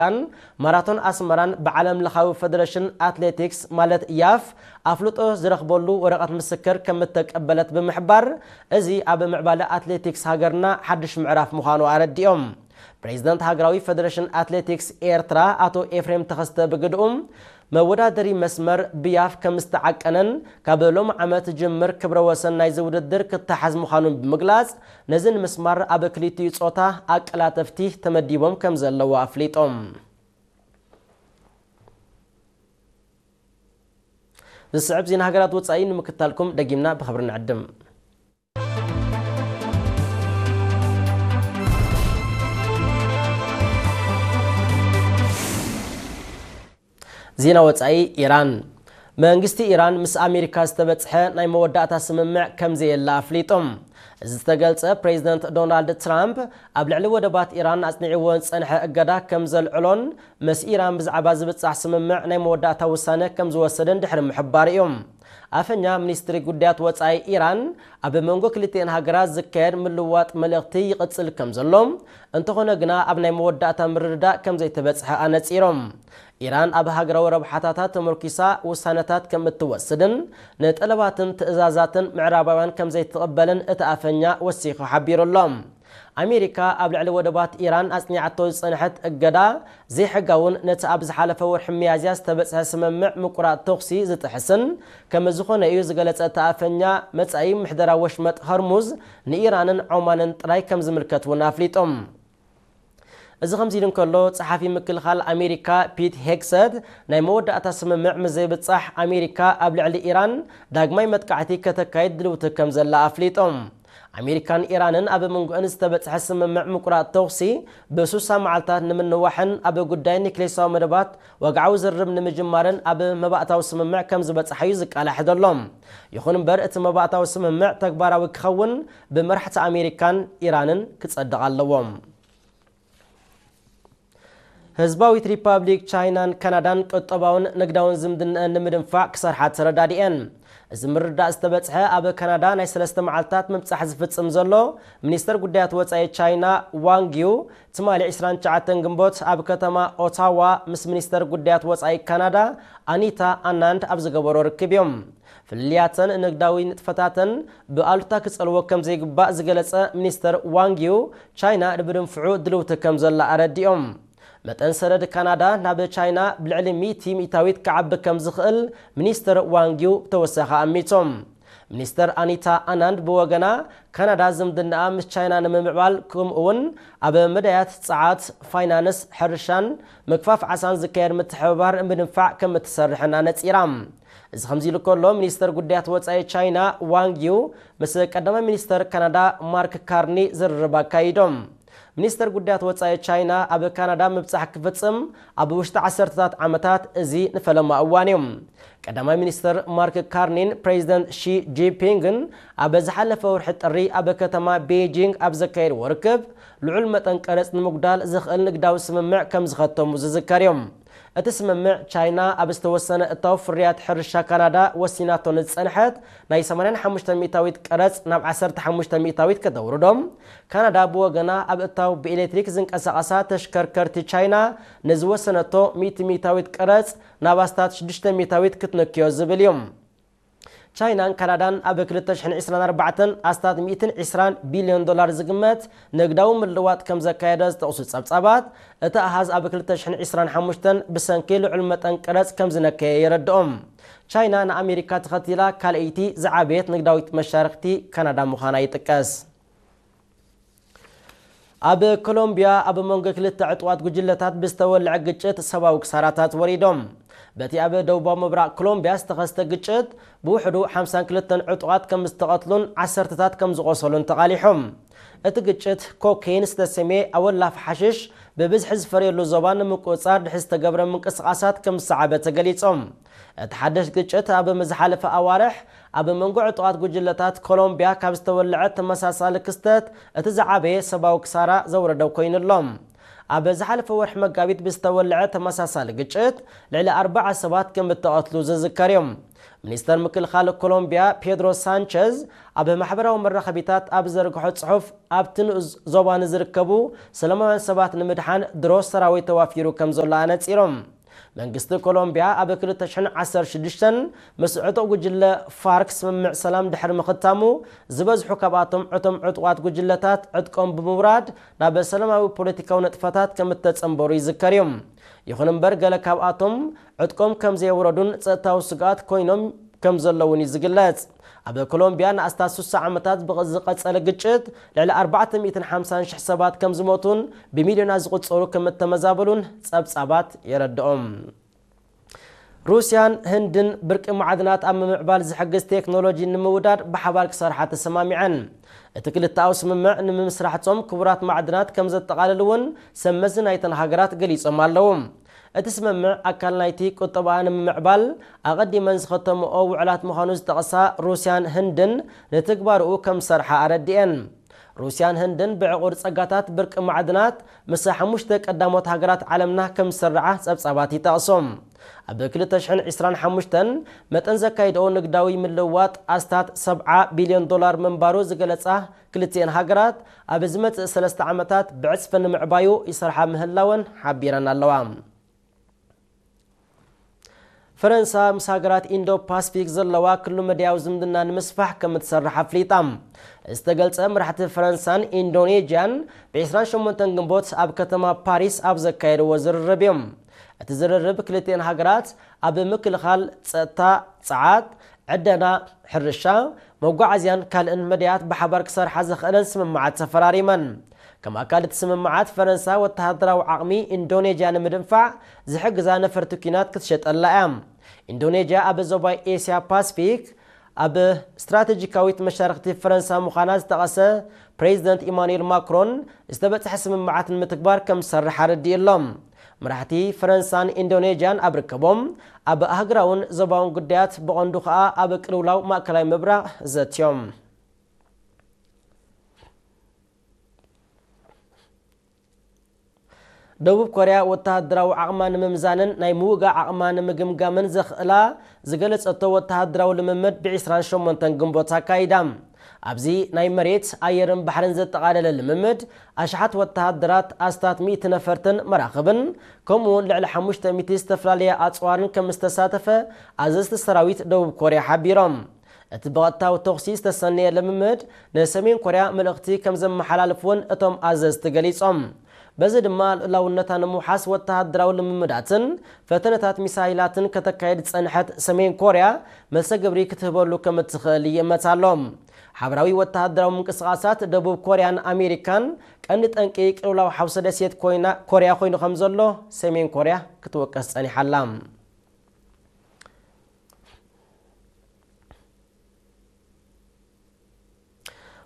ኣሜሪካን ማራቶን ኣስመራን ብዓለም ለኻዊ ፈደረሽን ኣትሌቲክስ ማለት ያፍ ኣፍልጦ ዝረኽበሉ ወረቐት ምስክር ከም እተቀበለት ብምሕባር፣ እዚ ኣብ ምዕባለ ኣትሌቲክስ ሃገርና ሓድሽ ምዕራፍ ምዃኑ ኣረዲኦም። ፕሬዚደንት ሃገራዊ ፈደረሽን ኣትሌቲክስ ኤርትራ ኣቶ ኤፍሬም ተኸስተ ብግድኡ፣ መወዳደሪ መስመር ብያፍ ከም ዝተዓቀነን ካብ ሎም ዓመት ጅምር ክብረ ወሰን ናይዚ ውድድር ክተሓዝ ምዃኑን ብምግላጽ፣ ነዚ ንምስማር ኣብ ክልቲኡ ጾታ ኣቀላጠፍቲ ተመዲቦም ከም ዘለዉ ኣፍሊጦም። ዝስዕብ ዜና ሃገራት ወጻኢ ንምክታልኩም ደጊምና ብኽብሪ ንዕድም። ዜና ወጻኢ። ኢራን፣ መንግስቲ ኢራን ምስ ኣሜሪካ ዝተበጽሐ ናይ መወዳእታ ስምምዕ ከም ዘየለ ኣፍሊጡ። እዚ ዝተገልጸ ፕሬዚደንት ዶናልድ ትራምፕ ኣብ ልዕሊ ወደባት ኢራን ኣጽኒዕዎ ዝጸንሐ እገዳ ከም ዘልዕሎን ምስ ኢራን ብዛዕባ ዝብጻሕ ስምምዕ ናይ መወዳእታ ውሳነ ከም ዝወሰደን ድሕሪ ምሕባሩ እዩ። ኣፈኛ ሚኒስትሪ ጉዳያት ወጻኢ ኢራን፣ ኣብ መንጎ ክልቲኤን ሃገራት ዝካየድ ምልውዋጥ መልእኽቲ ይቕጽል ከም ዘሎ፣ እንተኾነ ግና ኣብ ናይ መወዳእታ ምርድዳእ ከም ዘይተበጽሐ ኣነጺሮም። ኢራን ኣብ ሃገራዊ ረብሓታታ ተመርኪሳ ውሳነታት ከም እትወስድን ንጠለባትን ትእዛዛትን ምዕራባውያን ከም ዘይትቕበልን እቲ ኣፈኛ ወሲኹ ሓቢሩ ኣሎ። ኣሜሪካ ኣብ ልዕሊ ወደባት ኢራን ኣጽኒዓቶ ዝጸንሐት እገዳ ዘይሕጋውን ነቲ ኣብ ዝሓለፈ ወርሒ ሚያዝያ ዝተበጽሐ ስምምዕ ምቁራጽ ተኹሲ ዝጥሕስን ከም ዝኾነ እዩ ዝገለጸ እቲ ኣፈኛ፣ መጻኢ ምሕደራ ወሽመጥ ሆርሙዝ ንኢራንን ዖማንን ጥራይ ከም ዝምልከት እውን ኣፍሊጦም። እዚ ከምዚ ኢሉ እንከሎ፣ ጸሓፊ ምክልኻል ኣሜሪካ ፒት ሄግሰት፣ ናይ መወዳእታ ስምምዕ ምስ ዘይብጻሕ ኣሜሪካ ኣብ ልዕሊ ኢራን ዳግማይ መጥቃዕቲ ከተካይድ ድልውቲ ከም ዘላ ኣፍሊጦም። ኣሜሪካን ኢራንን ኣብ መንጎአን ዝተበጽሐ ስምምዕ ምቁራጽ ተኹሲ ብሱሳ መዓልታት ንምንዋሕን ኣብ ጉዳይ ኒክሌሳዊ መደባት ወግዓዊ ዝርርብ ንምጅማርን ኣብ መባእታዊ ስምምዕ ከም ዝበጽሓ እዩ ዝቃላሕ ዘሎ። ይኹን እምበር፣ እቲ መባእታዊ ስምምዕ ተግባራዊ ክኸውን ብመራሕቲ ኣሜሪካን ኢራንን ክጸድቕ ኣለዎ። ህዝባዊት ሪፓብሊክ ቻይናን ካናዳን ቁጠባውን ንግዳውን ዝምድናኣን ንምድንፋዕ ክሰርሓ ተረዳዲኤን። እዚ ምርዳእ ዝተበጽሐ ኣብ ካናዳ ናይ ሰለስተ መዓልታት ምብጻሕ ዝፍጽም ዘሎ ሚኒስተር ጉዳያት ወጻኢ ቻይና ዋንግ ዩ፣ ትማሊ ዕስራን ትሽዓተን ግንቦት ኣብ ከተማ ኦታዋ ምስ ሚኒስተር ጉዳያት ወጻኢ ካናዳ ኣኒታ ኣናንድ ኣብ ዝገበሮ ርክብ እዮም። ፍልልያተን ንግዳዊ ንጥፈታተን ብኣሉታ ክጸልዎ ከም ዘይግባእ ዝገለጸ ሚኒስተር ዋንግ ዩ፣ ቻይና ንምድንፍዑ ድልውቲ ከም ዘላ ኣረዲኦም። መጠን ሰደድ ካናዳ ናብ ቻይና ብልዕሊ ሚእቲ ሚእታዊት ክዓቢ ከም ዝኽእል ሚኒስተር ዋንግ ዩ ብተወሳኺ ኣሚቶም። ሚኒስተር ኣኒታ ኣናንድ ብወገና፣ ካናዳ ዝምድናኣ ምስ ቻይና ንምምዕባል፣ ከምኡ እውን ኣብ መዳያት ጸዓት፣ ፋይናንስ፣ ሕርሻን ምግፋፍ ዓሳን ዝካየድ ምትሕብባር ምድንፋዕ ከም እትሰርሕን ኣነጺራ። እዚ ከምዚ ኢሉ ከሎ፣ ሚኒስተር ጉዳያት ወጻኢ ቻይና ዋንግ ዩ ምስ ቀዳማይ ሚኒስተር ካናዳ ማርክ ካርኒ ዝርርብ ኣካይዶም። ሚኒስተር ጉዳያት ወጻኢ ቻይና ኣብ ካናዳ ምብጻሕ ክፍጽም ኣብ ውሽጢ ዓሰርተታት ዓመታት፣ እዚ ንፈለማ እዋን እዩ። ቀዳማይ ሚኒስተር ማርክ ካርኒን ፕሬዚደንት ሺ ጂንፒንግን ኣብ ዝሓለፈ ወርሒ ጥሪ ኣብ ከተማ ቤጂንግ ኣብ ዘካየድዎ ርክብ፣ ልዑል መጠን ቀረጽ ንምጉዳል ዝኽእል ንግዳዊ ስምምዕ ከም ዝኸተሙ ዝዝከር እዩ። እቲ ስምምዕ፣ ቻይና ኣብ ዝተወሰነ እታው ፍርያት ሕርሻ ካናዳ ወሲናቶ ንዝጸንሐት ናይ ሰማንያን ሓሙሽተን ሚእታዊት ቀረጽ ናብ ዓሰርተ ሓሙሽተ ሚእታዊት ከተውርዶ፣ ካናዳ ብወገና ኣብ እታው ብኤሌክትሪክ ዝንቀሳቐሳ ተሽከርከርቲ ቻይና ንዝወሰነቶ ሚእቲ ሚእታዊት ቀረጽ ናብ ኣስታት ሽዱሽተ ሚእታዊት ክትንክዮ ዝብል እዩ። ቻይናን ካናዳን ኣብ ክልተ ሽሕን ዕስራን ኣርባዕተን ኣስታት ሚእትን ዕስራን ቢልዮን ዶላር ዝግመት ንግዳዊ ምልዋጥ ከም ዘካየደ ዝጠቕሱ ጸብጻባት፣ እቲ ኣሃዝ ኣብ ክልተ ሽሕን ዕስራን ሓሙሽተን ብሰንኪ ልዑል መጠን ቀረጽ ከም ዝነከየ የረድኦም። ቻይና ንኣሜሪካ ተኸቲላ ካልኣይቲ ዝዓበየት ንግዳዊት መሻርክቲ ካናዳ ምዃና ይጥቀስ። ኣብ ኮሎምቢያ ኣብ መንጎ ክልተ ዕጡቓት ጉጅለታት ብዝተወልዐ ግጭት ሰብኣዊ ክሳራታት ወሪዶም። በቲ ኣብ ደቡባዊ ምብራቕ ኮሎምቢያ ዝተኸስተ ግጭት ብውሕዱ ሓምሳን ክልተን ዕጡቓት ከም ዝተቐትሉን ዓሰርተታት ከም ዝቖሰሉን ተቓሊሖም። እቲ ግጭት ኮኬይን ዝተሰምየ ኣወላፍ ሓሽሽ ብብዝሒ ዝፈርየሉ ዞባ ንምቁጽጻር ድሕሪ ዝተገብረ ምንቅስቓሳት ከም ዝሰዓበ ተገሊጾም። እቲ ሓድሽ ግጭት ኣብ ዝሓለፈ ኣዋርሕ ኣብ መንጎ ዕጡቓት ጉጅለታት ኮሎምቢያ ካብ ዝተወልዐ ተመሳሳሊ ክስተት እቲ ዝዓበየ ሰብኣዊ ክሳራ ዘውረደ ኮይኑ ኣሎ። ኣብ ዝሓለፈ ወርሒ መጋቢት ብዝተወልዐ ተመሳሳሊ ግጭት ልዕሊ ኣርባዓ ሰባት ከም እተቐትሉ ዝዝከር እዩ። ሚኒስተር ምክልኻል ኮሎምቢያ ፔድሮ ሳንቸዝ ኣብ ማሕበራዊ መራኸቢታት ኣብ ዘርግሖ ጽሑፍ፣ ኣብቲ ንኡስ ዞባ ንዝርከቡ ሰላማውያን ሰባት ንምድሓን ድሮ ሰራዊት ተዋፊሩ ከም ዘሎ ኣነጺሮም። መንግስቲ ኮሎምቢያ ኣብ ክልተ ሽሕን ዓሰርተ ሽዱሽተን ምስ ዕጡቕ ጉጅለ ፋርክ ስምምዕ ሰላም ድሕሪ ምኽታሙ፣ ዝበዝሑ ካብኣቶም እቶም ዕጡቓት ጉጅለታት ዕጥቆም ብምውራድ ናብ ሰላማዊ ፖለቲካዊ ነጥፈታት ከም እተጸንበሩ ይዝከር እዩ። ይኹን እምበር፣ ገለ ካብኣቶም ዕጥቆም ከም ዘየውረዱን ጸጥታዊ ስግኣት ኮይኖም ከም ዘለውን እዩ ዝግለጽ። ኣብ ኮሎምቢያ ንኣስታት ስሳ ዓመታት ብዝቐጸለ ግጭት ልዕሊ ኣርባዕተ ሚእትን ሓምሳን ሽሕ ሰባት ከም ዝሞቱን ብሚልዮናት ዝቑጸሩ ከም እተመዛበሉን ጸብጻባት የረድኦም። ሩስያን ህንድን ብርቂ ማዕድናት ኣብ ምምዕባል ዝሕግዝ ቴክኖሎጂ ንምውዳድ ብሓባር ክሰርሓ ተሰማሚዐን። እቲ ክልተኣዊ ስምምዕ ንምምስራሕ ጾም ክቡራት ማዕድናት ከም ዘጠቓልል እውን ሰብ መዚ ናይተን ሃገራት ገሊጾም ኣለዉ። እቲ ስምምዕ ኣካል ናይቲ ቁጠባኣ ንምምዕባል ኣቐዲመን ዝኸተምኦ ውዕላት ምዃኑ ዝጠቐሳ ሩስያን ህንድን፣ ንትግባርኡ ከም ዝሰርሓ ኣረዲኤን። ሩስያን ህንድን ብዕቑር ጸጋታት ብርቂ ማዕድናት ምስ ሓሙሽተ ቀዳሞት ሃገራት ዓለምና ከም ዝሰርዓ ጸብጻባት ይጠቕሱ። ኣብ ክልተ ሽሕን ዕስራን ሓሙሽተን መጠን ዘካይድኦ ንግዳዊ ምልውዋጥ ኣስታት ሰብዓ ቢልዮን ዶላር ምንባሩ ዝገለጻ ክልቲኤን ሃገራት፣ ኣብ ዝመጽእ ሰለስተ ዓመታት ብዕጽፊ ንምዕባዩ ይሰርሓ ምህላወን ሓቢረን ኣለዋ። ፈረንሳ ምስ ሃገራት ኢንዶ ፓስፊክ ዘለዋ ኩሉ መዳያዊ ዝምድና ንምስፋሕ ከም እትሰርሕ ኣፍሊጣ። ዝተገልጸ፣ መራሕቲ ፈረንሳን ኢንዶኔዥያን ብ ዕስራን ሸሞንተን ግንቦት ኣብ ከተማ ፓሪስ ኣብ ዘካየድዎ ዝርርብ እዮም። እቲ ዝርርብ ክልቲኤን ሃገራት ኣብ ምክልኻል፣ ጸጥታ፣ ጸዓት፣ ዕደና፣ ሕርሻ፣ መጓዓዝያን ካልእን መዳያት ብሓባር ክሰርሓ ዝኽእለን ስምምዓት ተፈራሪመን። ከም ኣካል እቲ ስምምዓት፣ ፈረንሳ ወተሃደራዊ ዓቕሚ ኢንዶኔዥያ ንምድንፋዕ ዝሕግዛ ነፈርቲ ኲናት ክትሸጠላ እያ። ኢንዶኔዥያ ኣብ ዞባ ኤስያ ፓስፊክ ኣብ ስትራቴጂካዊት መሻርክቲ ፈረንሳ ምዃና ዝጠቐሰ ፕሬዚደንት ኢማኑኤል ማክሮን፣ ዝተበጽሐ ስምምዓት ንምትግባር ከም ዝሰርሕ ኣረዲኡ ኣሎ። መራሕቲ ፈረንሳን ኢንዶኔዥያን ኣብ ርከቦም፣ ኣብ ኣህጉራውን ዞባውን ጉዳያት፣ ብቐንዱ ከኣ ኣብ ቅልውላው ማእከላይ ምብራቕ ዘትዮም። ደቡብ ኮርያ ወተሃደራዊ ዓቕማ ንምምዛንን ናይ ምውጋእ ዓቕማ ንምግምጋምን ዘኽእላ ዝገለጸቶ ወተሃደራዊ ልምምድ ብ ዕስራን ሸሞንተን ግንቦት ኣካይዳ። ኣብዚ ናይ መሬት፣ ኣየርን ባሕርን ዘጠቓለለ ልምምድ፣ ኣሽሓት ወተሃደራት፣ ኣስታት ሚእቲ ነፈርትን መራኽብን፣ ከምኡውን ልዕሊ ሓሙሽተ ሚእቲ ዝተፈላለያ ኣጽዋርን ከም ዝተሳተፈ ኣዘዝቲ ሰራዊት ደቡብ ኮርያ ሓቢሮም። እቲ ብቐጥታዊ ተኹሲ ዝተሰነየ ልምምድ ንሰሜን ኮርያ መልእኽቲ ከም ዘመሓላልፍ እውን እቶም ኣዘዝቲ ገሊጾም። በዚ ድማ ልኡላውነታ ንምውሓስ ወተሃደራዊ ልምምዳትን ፈተነታት ሚሳይላትን ከተካየድ ዝጸንሐት ሰሜን ኮርያ መልሰ ግብሪ ክትህበሉ ከም እትኽእል ይእመት ኣሎ። ሓበራዊ ወተሃደራዊ ምንቅስቓሳት ደቡብ ኮርያን ኣሜሪካን ቀንዲ ጠንቂ ቅልውላው ሓውሲ ደሴት ኮይና፣ ኮርያ ኮይኑ ከም ዘሎ ሰሜን ኮርያ ክትወቀስ ጸኒሓ ኣላ።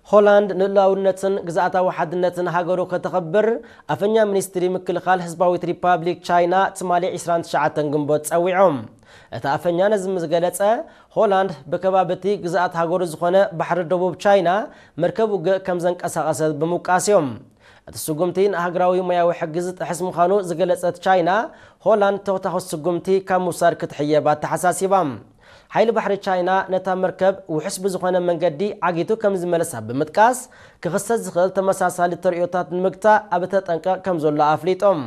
ሆላንድ ንልኡላውነትን ግዝኣታዊ ሓድነትን ሃገሩ ከተኽብር ኣፈኛ ሚኒስትሪ ምክልኻል ህዝባዊት ሪፓብሊክ ቻይና ትማሊ ዕስራን ትሽዓተን ግንቦት ጸዊዖም። እቲ ኣፈኛ ነዚ ምስ ገለጸ፣ ሆላንድ ብከባቢ እቲ ግዝኣት ሃገሩ ዝኾነ ባሕሪ ደቡብ ቻይና መርከብ ውግእ ከም ዘንቀሳቐሰት ብምውቃስ እዮም። እቲ ስጉምቲ ንሃገራዊ ሞያዊ ሕጊ ዝጥሕስ ምዃኑ ዝገለጸት ቻይና፣ ሆላንድ ተወታኺ ስጉምቲ ካብ ምውሳድ ክትሕየብ ኣተሓሳሲባ። ሓይሊ ባሕሪ ቻይና ነታ መርከብ ውሑስ ብዝኾነ መንገዲ ዓጊቱ ከም ዝመለሳ ብምጥቃስ፣ ክኽሰት ዝኽእል ተመሳሳሊ ተርእዮታት ንምግታእ ኣብ ተጠንቀቕ ከም ዘሎ ኣፍሊጦም።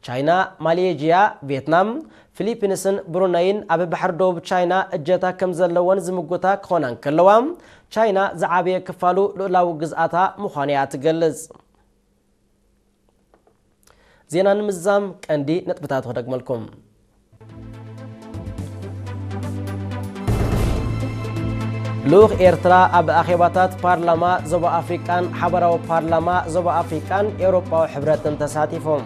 ቻይና፣ ማሌዥያ፣ ቪየትናም፣ ፊሊፒንስን ብሩነይን ኣብ ባሕሪ ደቡብ ቻይና እጀታ ከም ዘለወን ዝምጉታ ክኾና እንከለዋ፣ ቻይና ዝዓበየ ክፋሉ ልኡላዊ ግዝኣታ ምዃኑ እያ ትገልጽ። ዜና ንምዝዛም ቀንዲ ነጥብታት ክደግመልኩም። ልኡኽ ኤርትራ ኣብ ኣኼባታት ፓርላማ ዞባ ኣፍሪቃን ሓበራዊ ፓርላማ ዞባ ኣፍሪቃን ኤውሮጳዊ ሕብረትን ተሳቲፎም።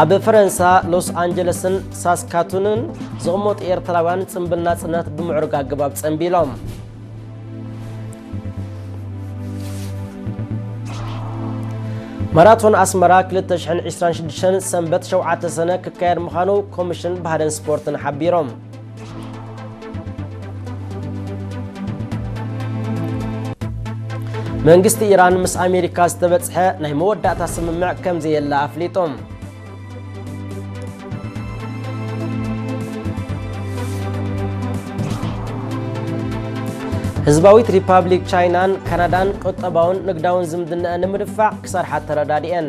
ኣብ ፈረንሳ ሎስ ኣንጀለስን ሳስካቱንን ዝቕመጡ ኤርትራውያን ጽምብል ናጽነት ብምዕሩግ ኣገባብ ጸንቢሎም። ማራቶን ኣስመራ ክልተ ሽሕን ዕስራን ሽዱሽተን ሰንበት ሸውዓተ ሰነ ክካየድ ምዃኑ ኮሚሽን ባህልን ስፖርትን ሓቢሮም። መንግስቲ ኢራን ምስ ኣሜሪካ ዝተበጽሐ ናይ መወዳእታ ስምምዕ ከም ዘየለ ኣፍሊጡ። ህዝባዊት ሪፓብሊክ ቻይናን ካናዳን ቁጠባውን ንግዳውን ዝምድናኣን ንምድፋዕ ክሰርሓ ተረዳዲኤን።